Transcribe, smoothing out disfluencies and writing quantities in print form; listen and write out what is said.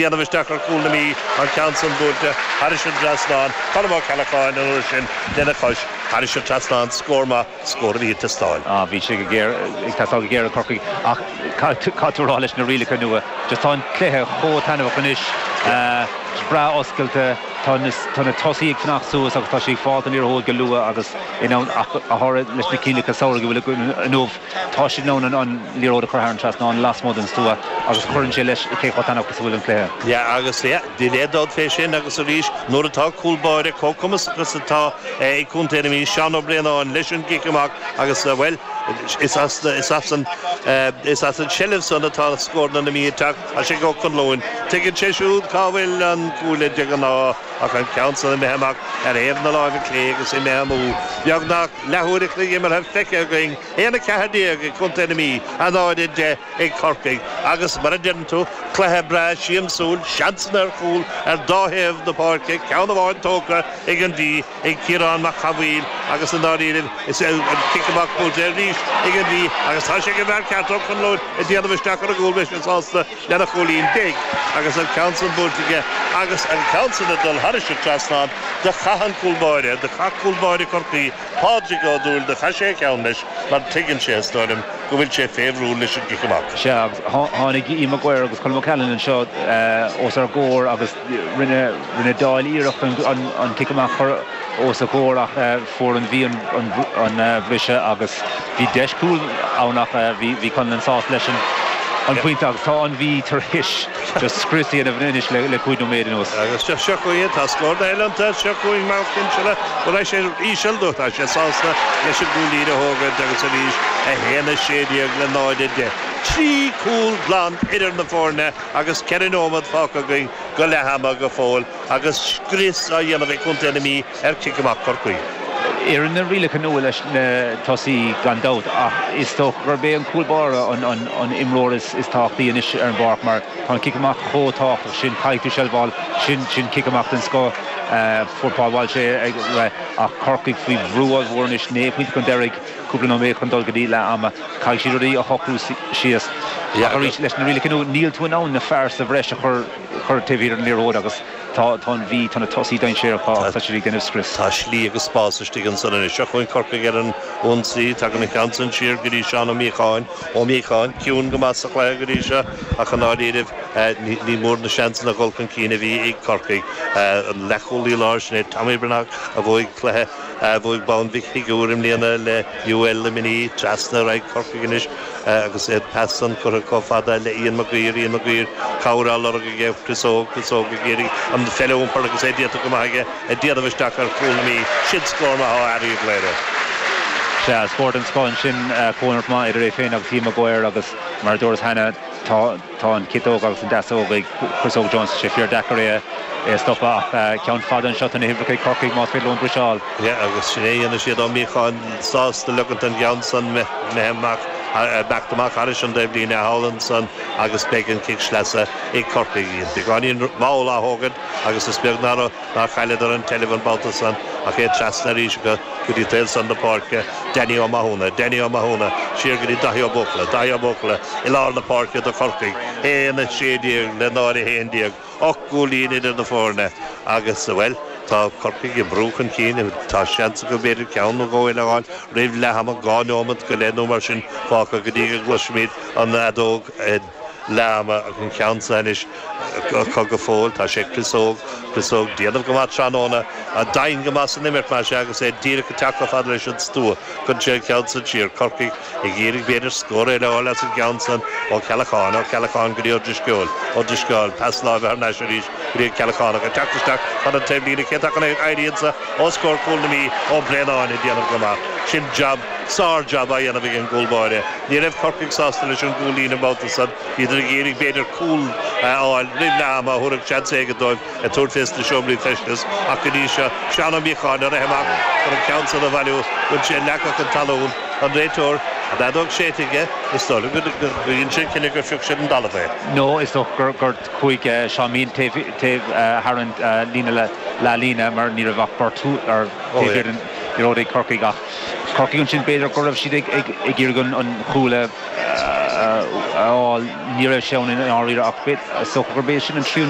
déanamh isteach ar chúl na Mí, an ceann san buailte thairis an dtrasnán, Colm Ó Ceallacháin an uair sin lena chois thairis an trasnán, scór maith, scór a bhí ag teastáil. Ah, bhí sé go géar, ag teastáil go géar ag Corcaigh ach caithfidh tú a rá leis na rialacha nua, just tá an cluiche chomh taitneamhach anois, breá oscailte, tá na, tá na tosaithe ag fanacht suas agus tá siad ag fáilt an liathróid go luath agus in ann, ach go háirithe leis na coinníollacha samhraidh a bhfuil againn inniu, tá siad in ann an liathróid a chur thar an trasnán lasmuigh den stua agus cuireann sé leis cé chomh taitneamhach is a bhfuil an cluiche. Yeah, agus yeah, níl aon dabht fé sin agus arís nuair atá cúl báire chomh cumasach is atá ag Contae na Mí, Seán Ó Braonáin leis an gcic amach agus bhuel, is as, is as an, is as an tseilbh san atá scóranna na Mí ag teacht, tá sé ag Ó Conluain. Tuigeann sé siúd cá bhfuil an cuaille de ghnáth ach an ceann san imithe amach ar thaobh na láimhe clé agus imithe amú. Beagnach leathuair a chloig imeartha feicthe againn, 1-14 ag Contae na Mí, 0-10 ag Corcaigh agus mar a deireann tú, cluiche breá siamsúil, seansanna ar chúl ar dá thaobh na páirce, ceann amháin tógtha ag an Mhí ag Ciarán Mac Cathmhaoil agus i ndáiríribh is an cic amach buailte arís ag an Mhí agus tá sé ag an bhfear ceart Ó Conluain ag déanamh isteach ar an gcúl beidh sé sásta lena chúilín beidh agus an ceann san buailte aige agus an ceann san ag dul thairis an trasnán do chaith an cúl báire, do chaith cúl báire Chorcaí Pádraig Ó Dúill, do chaith sé a cheann leis mar tuigeann sé, is dóigh liom, go bhfuil sé fé bhrú leis an gcic amach. Sea, agus tháinig Ian Maguire agus Colm O'Callaghan anseo os ár gcomhair agus rinne rinne Doyle iarracht an cic amach a chur os a gcomhair ach fuair an Mhí an bhriseadh agus bhí deis cúil ann ach bhí Conlon sásta leis an phointe agus tá an Mhí tar éis just scrios a dhéanamh anois le 5 nóiméad anuas. Agus seo seo chugainn, tá scór eile iontu, seo chugainn Mac Cinnseala, go raibh sé íseal nó tá sé sásta leis an gcúilín a thógaint agus arís 1 16 le 0 10. 3 cúl glan idir na foirne agus 4 nóiméad fágtha againn go leath ama go fóill agus scrios á dhéanamh ag Contae na Mí ar chic amach Chorcaí. Oireann na rialacha nua leis na tosaí gan dabht ach is dócha gurb é an cúl báire an imreoir is tábhachtaí anois ar an bpáirc mar tá an cic amach chomh tábhachtach sin, caithfidh tú seilbh a fháil, sin sin cic amach den scoth. Fuair Paul Walsh é ach Corcaigh faoi bhrú ollmhór anois, 9 pointe chun deiridh, cúpla nóiméad chun dul go dtí leath ama. Caithfidh siad rudaí a shocrú síos. Ach arís leis na rialacha nua níl tú in ann na fear sa bhreis a chur taobh thiar den liathróid agus Tá, tá an Mhí, tá na tosaithe dainséarach agus tá siad ag déanamh scrios. Tá slí agus spás istigh ansan anois. Seo chugainn Corcaigh ar an ionsaí. Tagann an ceann san siar go dtí Seán Ó Míocháin. Ó Míocháin, ciúin go maith sa chluiche go dtí seo ach i ndáiríribh ní mór na seansanna a dhul chun cinn a bhí ag Corcaigh. An leathchúlaí láir sin é Tommy Breathnach a bhuaigh cluiche, a bhuaigh bonn Mhic Shigiúir i mbliana le UL Luimnigh. Trasna ar aghaidh Corcaigh anois. Agus an pas san curtha chomh fada le Ian Maguire, Ian Maguire, cabhair á lorg aige ó Chris Óg, Chris Óg ag iarraidh an pheil a iompar agus é déanta go maith aige, ag déanamh isteach ar chúl na Mí. Sin scór maith ó fhear Uíbh Chléire. Sea, scór den scoth ansin, comhimirt maith idir é féin agus Ian Maguire agus mar a dúras cheana, tá tá an chiotóg agus an deasóg ag Chris Óg Jones, tá sé fíor deacair é a stopadh ach ceann fada anseo, tá na huimhreacha ag Corcaigh más féidir leo an briseadh a fháil. Yeah, agus sin é a dhéanfaidh siad Ó Míocháin sásta leogaint an gceann san imithe amach, imeacht amach thairis an dtaobhlíne thall ansan agus beidh an cic sleasa ag Corcaigh. Beagáinín mall á thógaint agus is beag nár nár chailleadar an tseilbh an babhta san ach é trasna arís acu go dtí taobh san na páirce, Danny Ó Mathúna, Danny Ó Mathúna siar go dtí Daithí Ó Buachalla, Daithí Ó Buachalla i lár na páirce do Chorcaigh, 1, 16 le 0, 11. 8 gcúilín idir na foirne agus, bhuel, tá Corcaigh ag brú chun cinn. Tá seans acu b'fhéidir ceann nó dhó eile a fháil roimh leath ama, 2 neomat go leith nó mar sin fágtha go dtí go gcloisfimid an fheadóg leath ama ach an ceann seo anois acu go fóill. Tá sé Chris Óg, Chris Óg, déanamh go maith tráthnóna, domhain go maith san imirt mar sea agus é díreach ag teacht chomh fada leis an stua. Cuireann sé an ceann san siar. Corcaigh Ag iarraidh b'fhéidir scór eile a fháil as an gceann san Ó Ceallacháin, Ó Ceallacháin go dtí Ó Drisceoil, Ó Drisceoil, pas láimhe thar n-ais arís go dtí an Ceallachánach ag teacht isteach chun an taobhlíne, cé atá chun éirí anso os comhair chúl na Mí, Ó Braonáin ag déanamh go maith. Sin jab, sár-jab á dhéanamh ag an gcúl báire. Ní raibh Corcaigh sásta leis an gcúilín an babhta san, bhíodar ag iarraidh b'fhéidir cúl a fháil roimh leath ama a thabharfadh seans éigin dóibh. ag tabhairt fés na seomraí feistis ach go dtí seo, Seán Ó Míocháin ag rith amach chun an ceann san a bhailiú, bhfuil sé leagtha chun talún, an réiteoir, an fheadóg séidte aige, is dóigh liom go dhein sé an cinneadh gur phioc sé den dtalamh é. Nó is dócha gur chuaigh Seán Meehan taobh thar an líne leathlíne mar ní raibh ach beirt ar taobh thiar den liathróid ag Corcaigh ach Corcaigh ansin b'fhéidir go raibh siad ag iarraidh an chúl a fháil, ní raibh sé ann i ndáiríre ach is dócha gurb é sin an tríú.